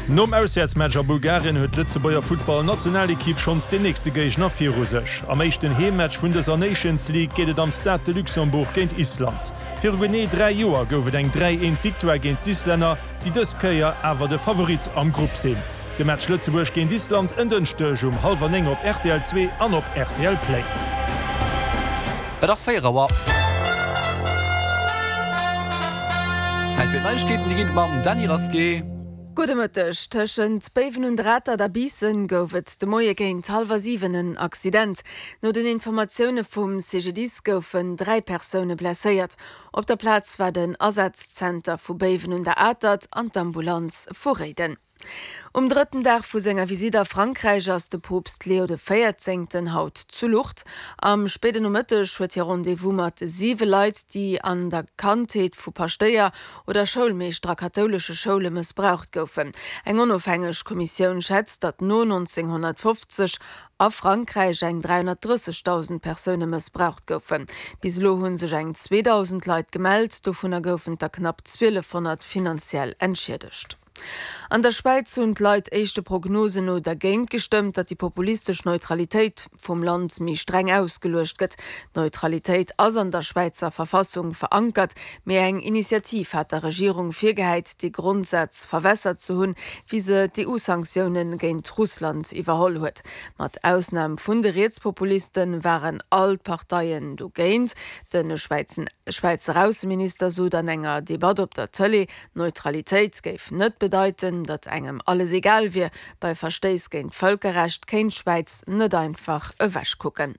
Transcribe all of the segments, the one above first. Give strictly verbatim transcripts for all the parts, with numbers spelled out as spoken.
Nom Auswäertsmatch a Bulgarien huet d'Lëtzebuerger Futtball-Nationalekipp schonns den nächste Géigner viru sech. Am éischten Heemmatch vun dëser Nations League geet et am Stade de Luxembourg géint Island. Viru genee dräi Joer gouf et eng dräi eent Victoire géint d'Islänner, déi dës Kéier awer de Favorit am Grupp sinn. De Match Lëtzebuerg géint Island en Dënschdeg um hallwer néng op rtl zwee an op rtl Play. Et ass véier Auer. Zäit fir d'Neiegkeeten, déi ginn et mam Dany Rasqué. Gudde Mëtteg. Tëschent Béiwen un der Atert a Biissen gouf et de Moie géint hallwer siwen en Accident. No den Informatioune vum C G D I S goufen dräi Persoune blesséiert. Op der Plaz war den Asazzenter vu Béiwen un der Atert an d'Ambulanz vu Réiden. Um drëtten Dag vu senger Visitt a Frankräich ass de Poopst Leo de Véierzéngten haut zu Lourdes. Am spéiden Nomëtteg huet hie Rendez-vous mat siwe Leit, déi an der Kandheet vu Paschtéier oder Schoulmeeschter a kathoulesche Schoule mëssbraucht goufen. Eng onofhängeg Kommissioun schätzt, datt no nonzénghonnertfofzeg a Frankräich eng dräihonnertdrëssegdausend Persoune mëssbraucht goufen. Bis elo hu sech eng zweedausend Leit gemellt, dovunner goufen der knapp zwielefhonnert finanziell entschiedegt. An der Schwäiz hunn d'Leit éischte Prognosen no dergéint gestëmmt, datt déi populistesch Neutralitéit vum Land méi streng ausgeluecht gëtt. D'Neutralitéit ass an der Schwäizer Verfassung verankert, mee eng Initiativ hat der Regierung virgehäit, dee Grondsaz verwässert ze hunn, wéi se d'E U-Sanktioune géint Russland iwwerholl huet. Mat Ausnam vun de Rietspopuliste waren all d'Parteien dogéint. De Schwäizer Ausseminister sot an enger Debatt op der Tëlee, Neutralitéit géif net bedeiten, datt engem alles egal wier. Bei Verstéiss géint d'Vëlkerrecht kéint d'Schwäiz net einfach ewechkucken.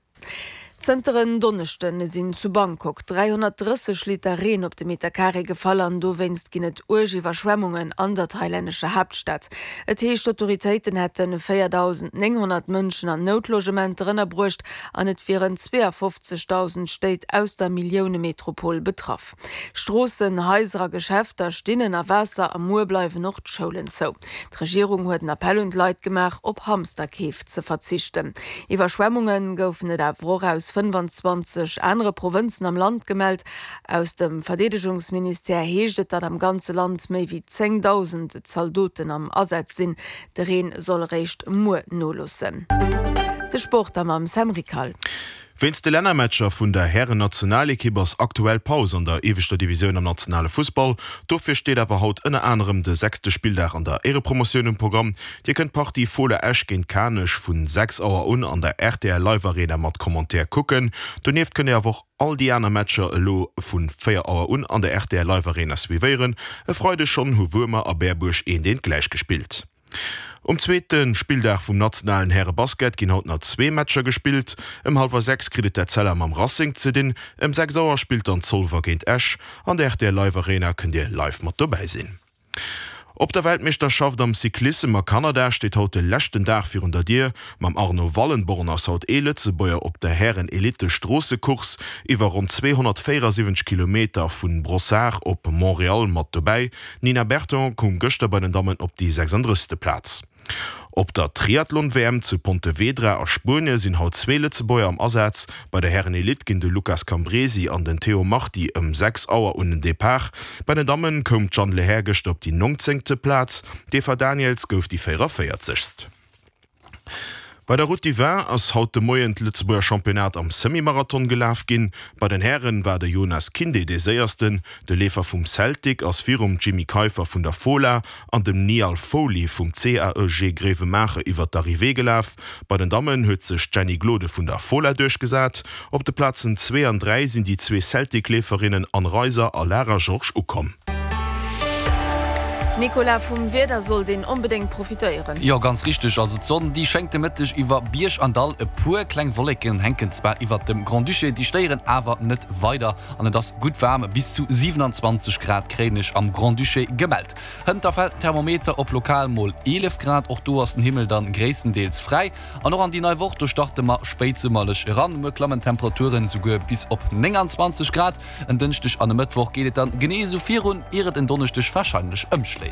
Zënter en Donneschde sinn zu Bangkok dräihonnertdrësseg Liter Reen op de Meterkaree gefall an dowéinst ginn et uerg Iwwerschwemmungen an der thailännescher Haaptstad. Et heescht, d'Autoritéiten hätte véierdausendnénghonnert Mënschen an Noutlogementer ënnerbruecht an et wieren zweeafofzegdausend Stéit aus der Milliounemetropol betraff. Stroossen, Haiser a Geschäfter stinn ënner Waasser a muer bleiwen och d'Schoulen zou. D'Regierung huet en Appell un d'Leit gemaach, op Hamsterkeef ze verzichten. Iwwerschwemmunge goufen et awer och aus fënnefanzwanzeg anere Provënzen am Land gemellt. Aus dem Verdeedegungsministère heescht et, datt am ganze Land méi wéi zéngdausend Zaldoten am Asaz sinn. De Reen soll eréischt muer noloossen. De Sport da mam Sam Rickal. Wéinst de Lännermatcher vun der Hären-Nationalekipp ass aktuell Paus an der ieweschter Divisioun am nationale Fussball. Dofir steet awer haut ënner anerem de sechste Spilldag an der Éierepromotioun um Programm. Dir kënnt d'Partie Fola Esch géint Kanech vu sechs Auer un an der R T L Live Arena mat Commentaire kucken. Donieft kënnt Dir awer och all déi aner Matcher elo vu véier Auer un an der R T L Live Arena suivéieren. E Freideg schonn hu Wuermer a Berbuerg eent eent gläichgespillt. Um zweete Spilldag vum nationalen Härebasket ginn haut nach zwee Matcher gespillt. Ëm hallwer sechs kritt et d'Etzella mam Racing ze dinn. Ëm sechs Auer spillt dann Zolwer géint Esch. An der R T L Live Arena kënnt Dir live mat dobäi sinn. Op der Weltmeeschterschaft am Cyclissem a Kanada steet haut de leschten Dag virun der Dier. Mam Arno Wallenborn ass haut ee Lëtzebuerger op der Hären-Elite-Stroossecourse iwwer ronn zweehonnertvéierasiwwenzeg Kilometer vu Brossard op Montréal mat dobäi. D'Nina Berton koum gëschter bei den Dammen op déi sechsandrëssegste Plaz. Op der Triathlon-W M zu Pontevedra a Spuenie sinn haut zwee Lëtzebuerger am Asaz. Bei der Hären-Elite ginn de Lucas Cambresi an den Théo Marti ëm sechs Auer un den Depart. Bei den Dammen koum d'Jeanne Lehair gëschter op déi nongzéngte Plaz, d'Eva Daniëls gouf déi véierervéierzegst. Bei der Route du Vin ass haut de Moien d'Lëtzebuerger Championnat am Semi-Marathon gelaf ginn. Bei den Hären war de Jonas Kinde dee Séiersten. De Leefer vum Celtic ass virum Jimmy Keiffer vun der Fola an dem Niall Foley vum C A E G Grevenmacher iwwer d'Arrivée gelaf. Bei den Dammen huet sech d'Jenny Glode vun der Fola duerchgesat. Op de Plazen zwee an dräi sinn déi zwee Celtic-Leeferinnen Anne Reiser a Lara Georges ukomm. Nicolas, vum Wieder sollt een onbedéngt profitéieren. Jo, ganz richteg, also d'Sonn déi schéngt de Mëtteg iwwer Bierg an Dall, e puer kleng Wolleken hänken zwar iwwert dem Grand-Duché, déi stéieren awer net weider an et ass gutt waarm, bis zu siewenanzwanzeg Grad kréien ech am Grand-Duché gemellt. Hënt da fält den Thermometer op lokal mol eelef Grad, och do ass den Himmel dann gréisstendeels fräi. An och an déi nei Woch, do starte mer spéitsummerlech eran, muer klammen d'Temperaturen souguer bis op nénganzwanzeg Grad. En Dënschdeg an e Mëttwoch geet et dann genee esou virun, ier et en Donneschdeg warscheinlech ëmschléit.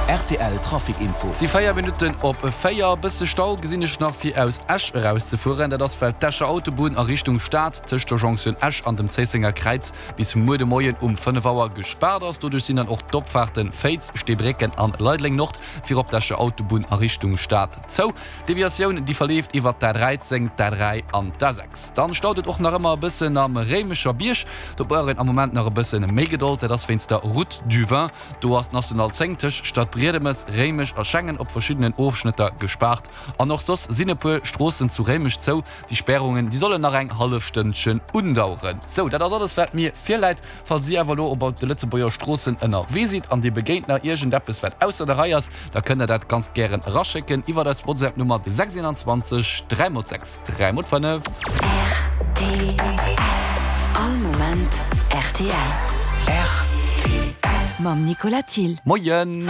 Rtl Trafic Info. Si véier Minutten op véier. Bësse Stau gesinn ech nach fir aus Esch eraus ze fueren. Dat ass well d'Escher Autobunn a Richtung Stad tëscht der Jonktioun Esch an dem Zéissenger Kräiz bis muer de Moien um fënnef Auer gespaart ass. Doduerch sinn dann och d'Opfaarten Féiz, Steebrécken an Leideleng Nord fir op d'Escher Autobunn a Richtung Stad zou. D'Deviatioun déi verleeft iwwert d'A dräizéng, d'A dräi an d'A sechs. Dann staut et och nach ëmmer e bëssen am Réimecher Bierg. Do brauch een am Moment nach e bëssen méi Gedold. Dat ass wéinst der Route du Vin. Do ass d'National zéng tëscht Stadbriedemes, Réimech a Schengen op verschiddenen Ofschnëtter gespaart. An och soss sinn e puer Stroossen zu Réimech zou. Déi Spärungen, déi sollen nach eng hallef Stënnchen undaueren. Sou, dat ass alles wat mir virläit. Falls Dir awer elo op de Lëtzebuerger Stroossen ënnerwee sidd an Dir begéint nach iergendeppes wat ausser der Rei ass, da kënnt Der dat ganz gären eraschécken iwwert eis WhatsApp-Nummer, de sechs eenundzwanzeg dräi mol sechs dräi mol fënnef. Rtl. All Moment rtl. Mam Nicolas Thill. Moien!